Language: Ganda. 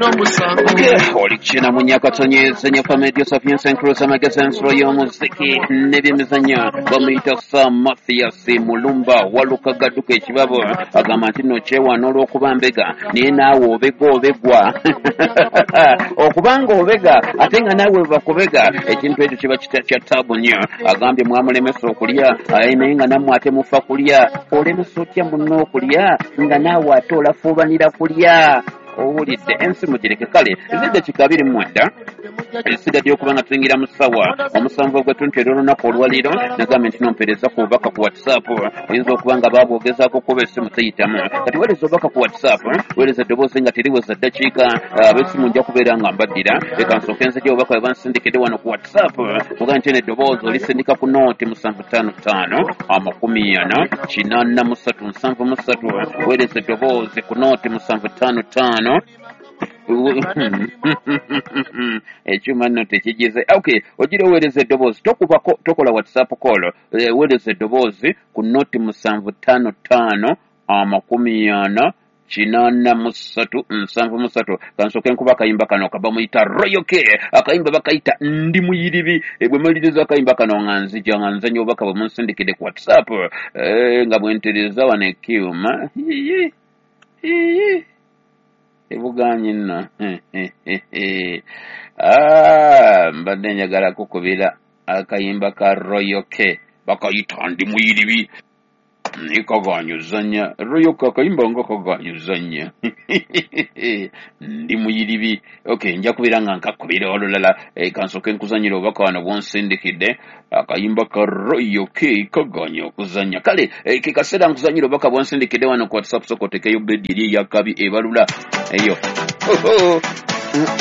N'omusango. Oli kina mu Nyakatonyeze Nyafamedio Sapiens Encruza Magazine y'omuziki n'ebyemizannyo, bamuyita Sir Mathias Mulumba Walukagaduka ekibabo. Agamba nti nno kyewaana olw'okuba mbega, naye naawe obega, obegwa okubanga obega ate nga naawe bakubega, ekintu ekyo kiba kya taabu nnyo. Agambye mwamulemesa okulya, aye naye nga nammwe ate mufa kulya. Olemesa otya munno okulya nga naawe ate olafuubanira kulya? Owulidde ensi mugireke. Kale ez'eddakiika 29 esigadde okuba nga tuyingira mu ssaawa 7 ogw'ettuntu era olunaku olwaleero, nagambye nti nompeereza ku bubaka ku WhatsApp. Oyinza okuba nga baabwogezaako kuba essimu teyitamu. Kati weereza obubaka ku WhatsApp, weereza eddoboozi nga teriweza ddakiika. Ab'essimu nja kubeera nga mbaddira. Leka nsooke nzije obubaka bwe bansindikidde wano ku WhatsApp. Mugaa nti eno eddoboozi olisindika ku nooti 755 40 83 73. Weereza eddoboozi ku nooti 755. Ekyuma nno tekigize. Okay, ogira oweereza eddoboozi, tokubako, tokola WhatsApp call. Weereza eddoboozi ku nooti 755 40 83 73. Kansooke nkuba akayimba kano kabamuyita Royal K, akayimba bakayita Ndi Muyiribi. Bwe maliriza akayimba kano nga nzija nga nzanya obubaka bwe munsindikidde ku WhatsApp. Nga bwentereza wano ekyuma ebuganye nno. Ah, mbadde njagala kukubira akayimba ka Royal K bakayita Ndi Muyiribi, naye kaganya ozannya. Royal K akayimba nga kaganya ozannya Ndi Muyiribi. Okay, nja kubeera nga nkakubira olulala. Kansooke nkuzanyira obubaka wano bwonsindikidde. Akayimba ka Royal K kaganya okuzannya. Kale ke kaseera nkuzanyira obubaka bwonsindikidde wano ku WhatsApp. Sooka otekeyo bedi eri eyakabi ebalula eyo.